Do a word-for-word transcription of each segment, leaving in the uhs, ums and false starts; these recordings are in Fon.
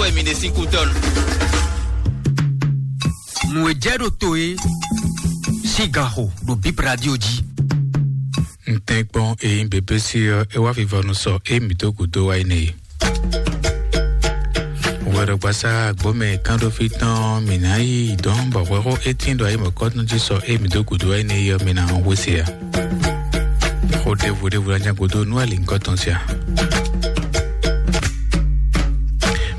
Wɛ mi ɖe sín kú tɔn. Nǔ e jɛ ɖo to e sín gan xo ɖo Bib Radio jí. Ntɛnkpɔn eyin bebesi ɔ, e wá vivɔnu sɔ e mi dó gǔdo wá yi nɛ e. Wɛɖɔgbasa gbɔmɛ kánɖófí tɔn mǐ ná yi dɔn bɔ hwɛxó étín ɖo ayi mɔ̌kɔtɔn jí sɔ e mi dó gǔdo wá yi nɛ e ɔ, mi ná hɔn hwesi a? Xó ɖěvo ɖěvo ná nya gǔdo nú ali ŋkɔ tɔn sia.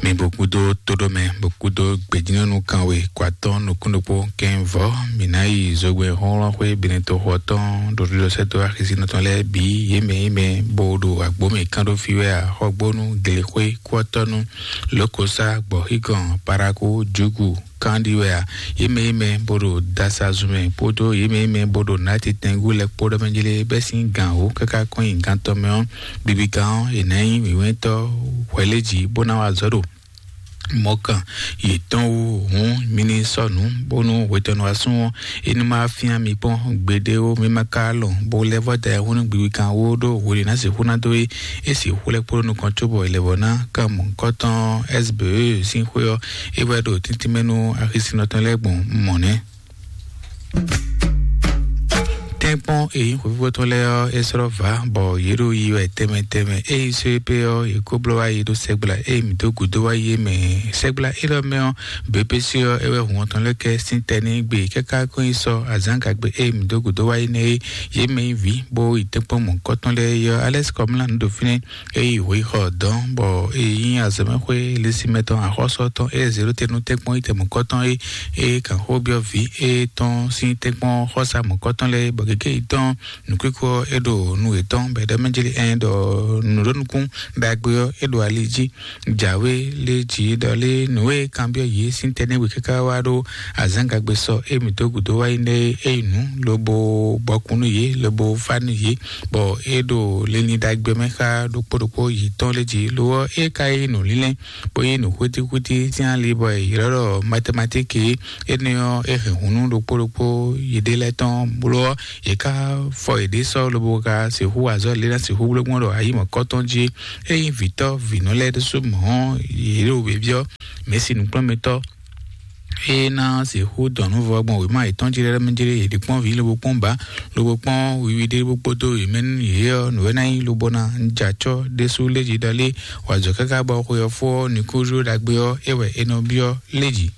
Mi bó kúdó tóɖómɛ, bó kúdó gbejínɔ́nú kanwe kó atɔ́ɔ́n nukún ɖokpó kɛ́n vɔ̌. Mi ná yi zogbɛ́n xɔ́nxɔ́n xwé Benɛtoxo ɔ́ tɔn ɖo ɖiɖɔsɛ́dó axisínɔ tɔn lɛ́ɛ bǐ, yě mɛ yě mɛ bó ɖo agbǒ mɛ kán ɖó fí wɛ ǎ, xɔgbónú, glexwé, kúɔtɔ́nú, lǒkosá, gbɔ̌xígɔn, parakú, jǔgu, kán ɖi wɛ ǎ. Yě mɛ yě mɛ bó ɖo dasazun mɛ kpódó yě mɛ yě mɛ bó ɖo nǎtitɛngú lɛ́ɛ kpó ɖɔ mɛ jlé bɛ́ sín gǎn wǒ káká kɔn nyi gantɔ́ mɛ ɔ́, bibi gán ɔ́, è nǎ nyí wǐwɛ́ntɔ́ hwɛléjǐ bó ná wa azɔ̌ ɖo mɔ̌kan yětɔn wú. Hǔn mi ní sɔ́ nǔ, bónú hwetɔ́nu asún ɔ́, é ní ma fyán mi kpɔ́n gbeɖé ó. Mi ma ka lɔn bó lɛ́ vɔ́ da ayihún nú gbigbigán wó ɖó hwenu e ná sixú ná dó é. É sixú lɛ́ kpódó nukɔn cóbɔ è lɛ́ vɔ́ ná kan mɔ̌hunkɔtɔn S B E sín xwé ɔ́, é wɛ ɖo tíntín mɛ nú axisínɔ tɔn lɛ́ɛ gbɔn mɔ̌ nɛ́. Tɛ́nkpɔ́n e nyí xwefífó tɔn lɛ́ɛ ɔ́, é slɔ́ vǎ, bɔ yě ɖo yi wɛ tɛnmɛ tɛnmɛ. Ée yi só é pé ɔ́, yě kó bló wá yi ɖó sɛgbla e mǐ dó gǔdo wá yi é mɛ. Sɛgbla élɔ́ mɛ ɔ́, běbésé ɔ́, é wɛ hǔn ɔ́ tɔn lɛ́ kɛ sín tɛ́ n'i gbe káká kɔn nyi sɔ azǎngagbe e mǐ dó gǔdo wá yi nɛ́ é. Yě mɛ nyí vǐ, bó yi tɛ́nkpɔ́n mɔ̌hunkɔtɔn lɛ́ɛ é ɔ́, Alɛ́si Kɔmlá nǔ ɖo fínɛ́. É yi wǒ yi xɔ dɔ̌n, bɔ é nyí azɔ̌mɛxwé Lisímɛ tɔn axɔ́sú ɔ́ tɔn, é zě ɖó te nú tɛ́nkpɔ́n yi tɛmɔ̌kɔtɔn é, é kan xó byɔ́ vǐ étɔn sín tɛ́nkpɔ́n xɔ́sá mɔ̌kɔtɔn lɛ́ɛ, bɔ gěgé yi tɔn nǔkwíkú ɔ́, é ɖo nu yětɔn bɔ é ɖɔ mɛ jlí ɛn ɖɔ nǔɖonukún ɖagbe ɔ́, é ɖo ali jí. Jǎwe lé jǐ ɖɔ lé nǔ e kanbyɔ́ yě sín tɛ́nɛ́we káká wá ɖó azǎngagbe sɔ é mǐ dó gǔdo wá yi nɛ́ é yi nǔ, lobo bɔkun nú yě, lobo fá nú yě, bɔ é ɖo linlin ɖagbe mɛ xá ɖokpó ɖokpó yětɔn lé jí. Lo ɔ́, é ka yí nǔ lílɛ́, bó yí nǔ xwítíxwítí sín ali, bɔ è ylɔ́ ɖɔ matematíki. Énɛ́ ɔ́, é hɛn hǔnú ɖokpó ɖokpó yěɖée lɛ́ɛ tɔn bló ɔ́, yě ká fɔ yěɖée sɔ́ lobo ka sixú wa azɔ̌ lě ná sixú bló gbɔn ɖo ayi mɔ̌kɔtɔn jí. Ényí vǐtɔ́ vǐnɔ lɛ́ɛ ɖésú mɔ̌ ɔ́, yě ɖo wěví ɔ́, mɛ̌si nǔkplɔ́nmɛtɔ́ é ná sixú dɔn nǔ vɔ gbɔn wěma yětɔn jí lɛ́ɛ mɛ jí lé, yě ɖi kpɔ́n vǐ lobo kpɔ́n bǎ, lobo kpɔ́n wiwi ɖé bó kpódó yě mɛ nú yě ɔ́, nǔ e ná nyí lobo ná jɛ acɔ́ ɖésú lé jí ɖɔ lé wǎ jɔ káká bɔ xwe ɔ́ fó ɔ́, nǔkúnɖíɖó ɖagbe ɔ́, é wɛ è nɔ byɔ́ lé jí.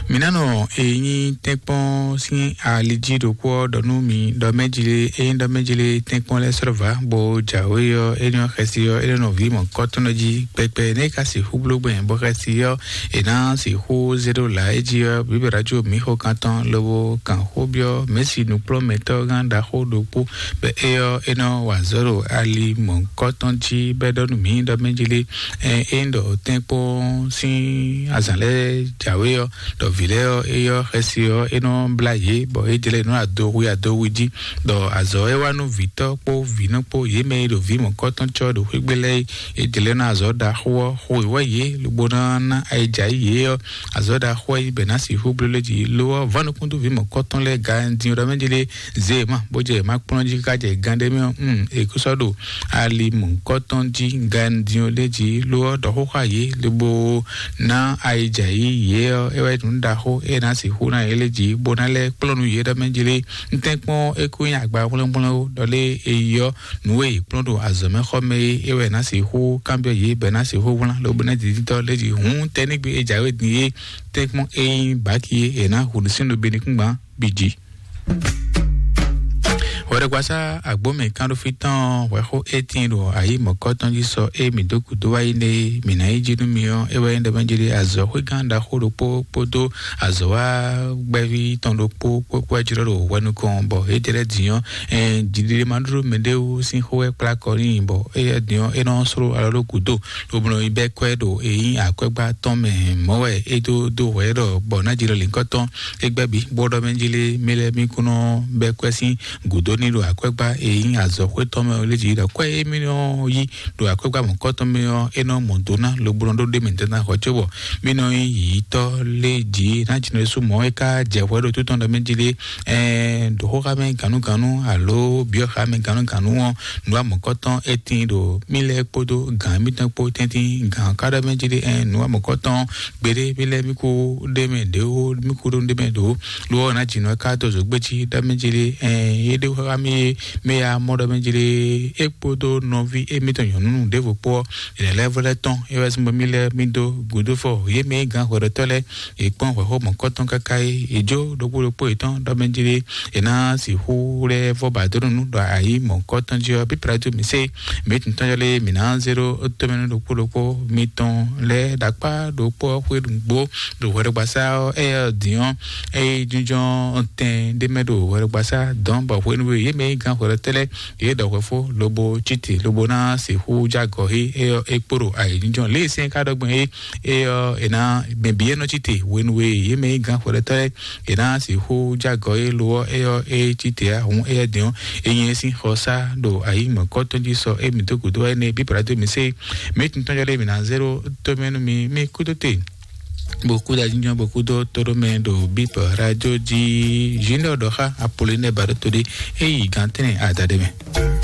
Mi ná nɔ e nyí tɛ́nkpɔ́n sín ali jí ɖokpó ɔ́ ɖɔ nú mi ɖɔ mɛ́ jí lé, é nyí ɖɔ mɛ́ jí lé tɛ́nkpɔ́n lɛ́ɛ sɔ́ vǎ, bó jǎwe ɔ́, é nyɔ́ xɛsi ɔ́, é nɔ nɔ vǐ mɔ̌kɔtɔn jí kpɛkpɛ. Nɛ̌ é ka sixú bló gbɛn bɔ xɛsi ɔ́, è nǎ sixú zé ɖó lǎ é jí ɔ́, bǐbɛ́ rájó mǐ xo kan tɔn lobo kan xó byɔ́ mɛ̌si nǔkplɔ́nmɛtɔ́ gán ɖaxó ɖokpó, bɔ é ɔ́, é nɔ wa azɔ̌ ɖo ali mɔ̌kɔtɔn jí, bɔ é ɖɔ nú mǐ ɖɔ mɛ́ jí lé, ɛ, é nyí ɖɔ tɛ́nkpɔ́n sín azǎn lɛ́ɛ jǎwe ɔ́, ɖɔ vǐ lɛ́ɛ ɔ́, é ɔ́ xɛsi ɔ́, é nɔ blá yě, bɔ é jlɛ́ nǔ adohu adohu jí, ɖɔ azɔ̌ e wá nú vǐtɔ́ kpó vǐnɔ kpó yě mɛ e ɖo vǐ mɔ̌kɔtɔn cɔ́ ɖo xwé gbe lɛ́ɛ é, é jlɛ́ ná azɔ̌ ɖaxó ɔ́ xo wɛ yě, lobo ná ná ayijǎ yě ɔ́, azɔ̌ ɖaxó ɔ́ yi bɛ ná sixú bló lé jí. Lo ɔ́, vɔ̌ nukúndú vǐ mɔ̌kɔtɔn lɛ́ɛ ganjí ɔ́ ɖɔ mɛ jí lé, zé e ma bó jɛ ma kplɔ́n jí káká jɛ gán ɖé mɛ ɔ́, mm, è kó sɔ́ ɖo ali mɔ̌hunkɔtɔn jí gandyɔ́n ɖé jí, lo ɔ́ ɖɔ xó xá yě, lobo ná ayijǎ yí yě ɔ́, é wɛ nǔ ɖaxó e ná sixú ná yě lé jí, bó ná lɛ́ kplɔ́n nú yě ɖɔ mɛ jí lé. Un tɛ́nkpɔ́n é kú nyí agba hwlɛ́ngbɔ́n ó, ɖɔ lé è yi ɔ́, nǔ e è kplɔ́n ɖo azɔ̌ mɛ xɔ mɛ é, é wɛ ná sixú kanbyɔ́ yě, bɔ è ná sixú wlán, lobo ná dǐdítɔ́ lé jí. Hǔn tɛ́nígbe e jǎwe din é, tɛ́nkpɔ́n é nyí bǎki é, è nǎ hu nǔ sín nú be ní kún gbán bǐ jí. Hwɛɖɛgbasá agbǒmɛ kánɖófí tɔn hwɛxó étín ɖo ayǐ mɔ̌kɔtɔn jí sɔ é mǐ dó gǔdo wá yi nɛ é, mǐ ná yi jí nú mi ɔ́, é wɛ nyí ɖɔ mɛ jí ɖé azɔ̌xwégán ɖaxó ɖokpó kpódó azɔ̌wágbɛ́ví tɔn ɖokpó kpó kpó wɛ jlɔ́ ɖo hwɛ nukɔn, bɔ é jɛ lɛ́ din ɔ́, ɛn, jiɖiɖe ma ɖó mɛɖé wú sín xó wɛ kplá kɔ n'i, bɔ éyɛ́ din ɔ́, é nɔ sló alɔ ɖó gǔdo, lobo nɔ yi bɛ́ kwɛ́ ɖo é nyí akwɛ́gbá tɔn mɛ mɔ̌ wɛ é dó dó hwɛ ɖɔ bɔ ná jilɔ lǐnkɔ́ tɔn é gbɛ́ bǐ, bó ɖɔ mɛ jí lé mɛ lɛ́ɛ mí kún nɔ bɛ́ kwɛ́ sín gǔdo ní ɖo akwɛ́gbá e nyí azɔ̌xwé tɔn mɛ ɔ́ lé jí ɖɔ kwɛ́ e mì nɔ yí ɖo akwɛ́gbá mɔ̌kɔ́tɔn mɛ ɔ́, é nɔ mɔ do ná lobo nɔ ɖó ɖ'é mɛ dandan xɔ cóbɔ mì nɔ nyí yǐyítɔ́ lé jí ná jǐnɔ sú mɔ̌ é ka jɛ hwɛ ɖo tó tɔn ɖɔ mɛ jí lé. Ɛɛ ɖo xóxá mɛ gǎnúgǎnú alo byɔ́xá mɛ gǎnúgǎnú ɔ́, nǔ wa mɔ̌kɔ́tɔn é tíin ɖo mì lɛ́ɛ kpódó gǎn mítɔn kpó tɛ́ntin gǎn ká ɖɔ mɛ jí lé. Ɛɛ nǔ wa mɔ̌kɔ́tɔn gbeɖé mì lɛ́ɛ mì kú ɖ'é mɛ ɖě ó, mì kú ɖó ɖ'é mɛ ɖǒ. Lo ɔ́ ná jǐnɔ ká dó zǒgbéjí ɖ'é mɛ jí lé. Ɛɛ yé ɖé xóxá mì é mɛ ya mɔ ɖɔ mɛ jí lé. É kpódó nɔví émítɔn nyɔ̌nu ɖěvo kpó ɔ́, yě lɛ́ vɔ lɛ́ tɔn é wɛ sín bɔ mì lɛ́ mì dó gǔdo fɔ yě mɛ nyí gǎn hwɛɖɔtɔ́ lɛ́ɛ. Yě kpɔ́n hwɛ̌xɔ mɔ̌kɔ́tɔn káká é yě jó ɖokpó ɖokpó yětɔn ɖɔ mɛ jí lé. È nǎ sixú lɛ́ vɔ ba dó nú ɖɔ ayǐ mɔ̌kɔ́tɔn jí ɔ́, pípra tó mì sé mǐ tún tɔ́n yɔ́ lé mǐ ná zé ɖó tómɛnú ɖokpó ɖokpó mitɔn lɛ́ɛ ɖo akpá ɖokpó ɔ́ xwé nǔgbó ɖo hwɛɖɔgbasá ɔ́. Éyɛ́ ɔ́ dǐn ɔ́, é jínjɔ́n tɛn ɖé mɛ ɖo hwɛɖɔgbasá dɔn bɔ hwenu e yě mɛ nyí gǎn hwɛɖɔtɛ́ lɛ́ɛ yě ɖɔ hwɛfó lobo cíte lobo ná sixú jágɔ̌ é é ɔ́ é kpo ɖo ayǐjínjɔ́n lě e sɛ́n ka ɖɔ gbɔn é é ɔ́ è nǎ mɛ bǐ é nɔ cíte hwenu e yě mɛ nyí gǎn hwɛɖɔtɛ́ lɛ́ɛ è nǎ sixú jágɔ̌ é lo ɔ́ é ɔ́ é cíte ǎ hǔn éyɛ́ dǐn ɔ́ é nyí é sín xɔsá ɖo ayǐ mɔ̌kɔ́tɔn jí sɔ émí dó gǔdo wá énɛ́ bíbla dó mì sé mǐ tún tɔ́n jɔ ɖé mǐ ná zé ɖó tómɛ nú mi mí kúdó te bó kúdó ajínjɔ́n bó kúdó tóɖómɛ ɖo bíbɔ rájó jí. Junior ɖɔ xá Apollinaire Baɖótodé é yi gǎn tɛ́nɛ adaɖé mɛ.